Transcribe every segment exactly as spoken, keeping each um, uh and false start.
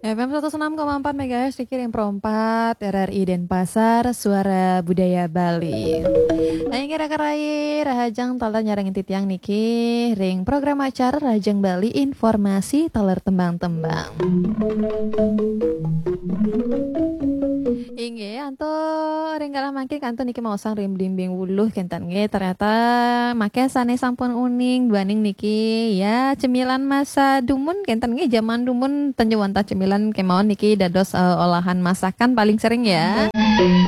F M seratus enam koma empat megahertz, dikirim pro empat R R I Denpasar, Suara Budaya Bali. Nah, inggih raka rai, rahajeng taler nyarengin titiang niki ring program acara Rahajeng Bali, informasi taler tembang-tembang. Inggih, antuk ring galah mangkin kantun niki maosang ring Blimbing Wuluh kenten nggih. Ternyata mangkin sane sampun uning duaning niki ya cemilan masa dumun kenten nggih, zaman dumun ten ja wantah cemilan kemawon niki dados eh, olahan masakan paling sering ya.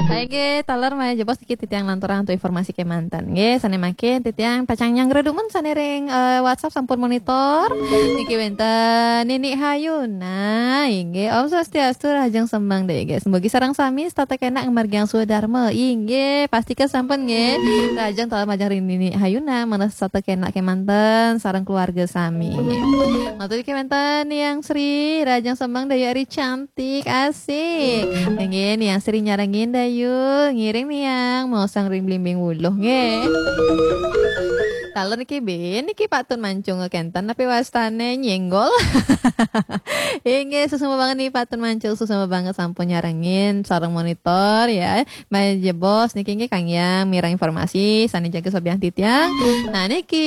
Baik nggih, taler malih jebos niki titiang lanturang antuk informasi kemanten nggih. Sane mangkin titiang pacang nyanggra dumun sane ring eh, WhatsApp sampun monitor. Niki wenten Nini Hayuna, inggih. Om Swastiastu, rahajeng sembang daya nggih. Semogi sareng sami setata kenak ngamargiang swadarma. Inggih, pastika sampun nggih. Rahajeng taler majeng ring Nini Hayuna, mangda setata kenak kemanten sareng keluarga sami. Matur niki wenten Niang Sri, rahajeng sembang daya ari cantik, asik. Inggih, Niang Sri nyarengin dayu, ngiring Niang, maosang ring Blimbing Wuluh nggih. Taler niki bin, niki patun mancung kenten, tapi wastane nyenggol. Inggih, suksma banget nih patun mancung, suksma banget sampun nyarengin sareng monitor ya. Malih jebos niki nggih kanggiang mireng informasi sane jaga sobiahang titiang. Nah niki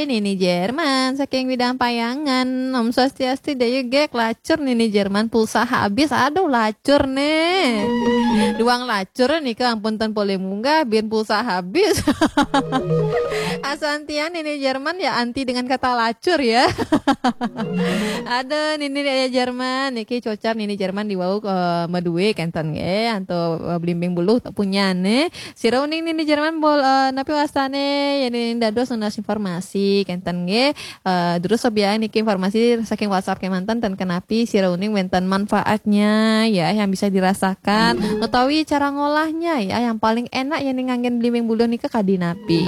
Nini Jerman saking Widang Payangan. Om Swastiastu, dayu nggih, lacur Nini Jerman, pulsa habis. Aduh, lacur nih. Duang lacur nika ampun ten polih munggah, bin pulsa habis. Asantian Nini Jerman ya anti dengan kata lacur ya. Aduh, Nini Jerman niki cocar Nini Jerman diwau eh, madue kenten nggih, antuk eh, Blimbing Wuluh punyane. Sira uning Nini Jerman bol eh, napi wastane ya Nini dados nunas informasi kenten nggih. Eh, terus sobiahang niki informasi saking WhatsApp kemanten ten kenapi sira uning wenten manfaatnya ya yang bisa dirasakan utawi cara ngolahnya ya yang paling enak ya ning nganggen Blimbing Wuluh nika kadi napi.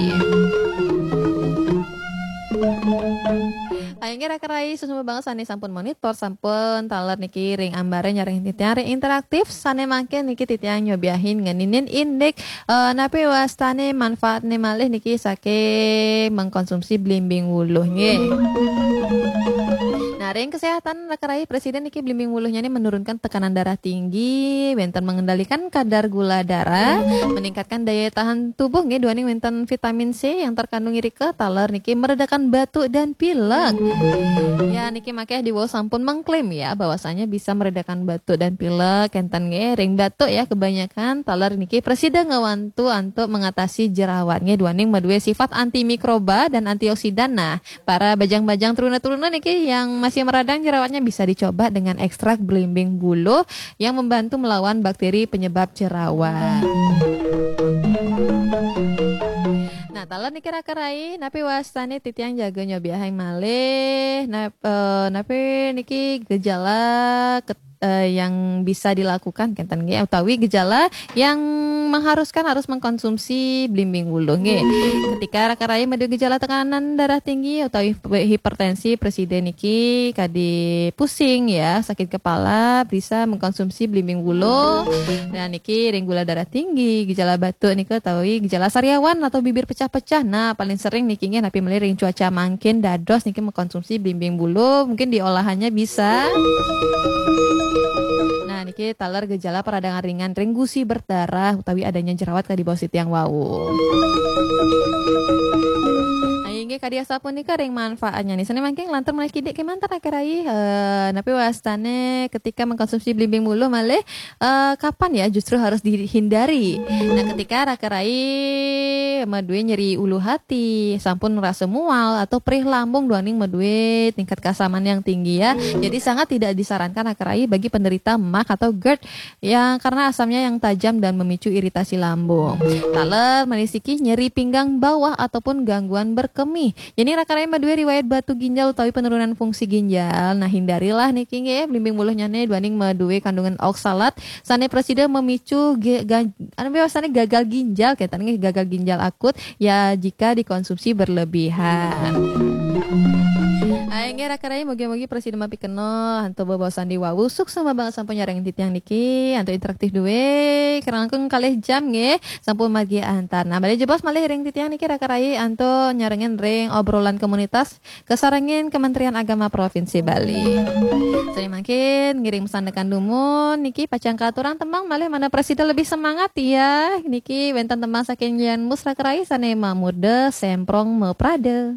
Ayo nggih raka rai, suksma banget sane sampun monitor, sampun taler niki ring ambare nyarengin titiang ring interaktif, sane mangkin niki titiang nyobiahin ngeninin indik eh, napi wastane manfaatne malih niki saking mengkonsumsi Blimbing Wuluh nggih. Nah, ring kesehatan raka rai, Presiden niki Blimbing Wuluhnya ini menurunkan tekanan darah tinggi, wenten mengendalikan kadar gula darah, meningkatkan daya tahan tubuh nggih, duaning wenten vitamin C yang terkandung irika, taler niki meredakan batuk dan pilek. Ya, niki makeh diwau sampun mengklaim ya bahwasanya bisa meredakan batuk dan pilek kenten nggih. Ring batuk ya kebanyakan taler niki prasida ngawantu antuk mengatasi jerawat nggih, duaning madue sifat antimikroba dan antioksidan. Nah, para bajang-bajang, truna-truna niki yang masih meradang jerawatnya bisa dicoba dengan ekstrak Blimbing Wuluh yang membantu melawan bakteri penyebab jerawat. Nah, taler niki raka rai, napi wastane titiang jaga nyobiahang malih, nap, eh, napi niki gejala ket- eh, yang bisa dilakukan kenten nggih, utawi gejala yang mengharuskan harus mengkonsumsi Blimbing Wuluh nggih. Ketika raka rai madue gejala tekanan darah tinggi utawi hipertensi, prasida niki kadi pusing ya, sakit kepala, bisa mengkonsumsi Blimbing Wuluh. Dan niki ring gula darah tinggi, gejala batuk nika utawi gejala sariawan atau bibir pecah-pecah. Nah, paling sering niki nggih napi malih ring cuaca mangkin dados niki mengkonsumsi Blimbing Wuluh, mungkin diolahannya bisa. Nah, niki taler gejala peradangan ringan ring gusi berdarah utawi adanya jerawat kadi bawah titiang wau. Nah, inggih kadi asapunika ring manfaatnya nih. Sane mangkin lantur malih kidik kemanten raka rai. Eh, napi wastane ketika mengkonsumsi Blimbing Wuluh malih eh, kapan ya justru harus dihindari? Nah, ketika raka rai madue nyeri ulu hati, sampun ngerasa mual atau perih lambung duaning madue tingkat keasaman yang tinggi ya. Jadi sangat tidak disarankan raka rai bagi penderita mak atau gerd yang karena asamnya yang tajam dan memicu iritasi lambung. Taler malih siki nyeri pinggang bawah ataupun gangguan berkemih. Yen raka rai madue riwayat batu ginjal utawi penurunan fungsi ginjal, nah hindarilah niki nggih Blimbing Wuluhnyane duaning madue kandungan oksalat sane prasida memicu ge- ga- anu biasane gagal ginjal kenten nggih, gagal ginjal akut ya jika dikonsumsi berlebihan. Hai nggih raka rai, mugi-mugi prasida mapikenoh antuk bebaosan diwawu. Suksma banget sampun nyarengin titiang niki antuk interaktif duwe. Langkung kalih jam nggih sampun margi antar. Nah, malih jebos malih ring titiang niki raka rai antuk nyarengin ring obrolan komunitas kasarengin Kementerian Agama Provinsi Bali. Sané mangkin ngiring sandekan dumun niki pacang katurang tembang malih mangda prasida lebih semangat ya. Niki wénten tembang saking Yan Mus raka rai sané mamurda Semprong Maprada.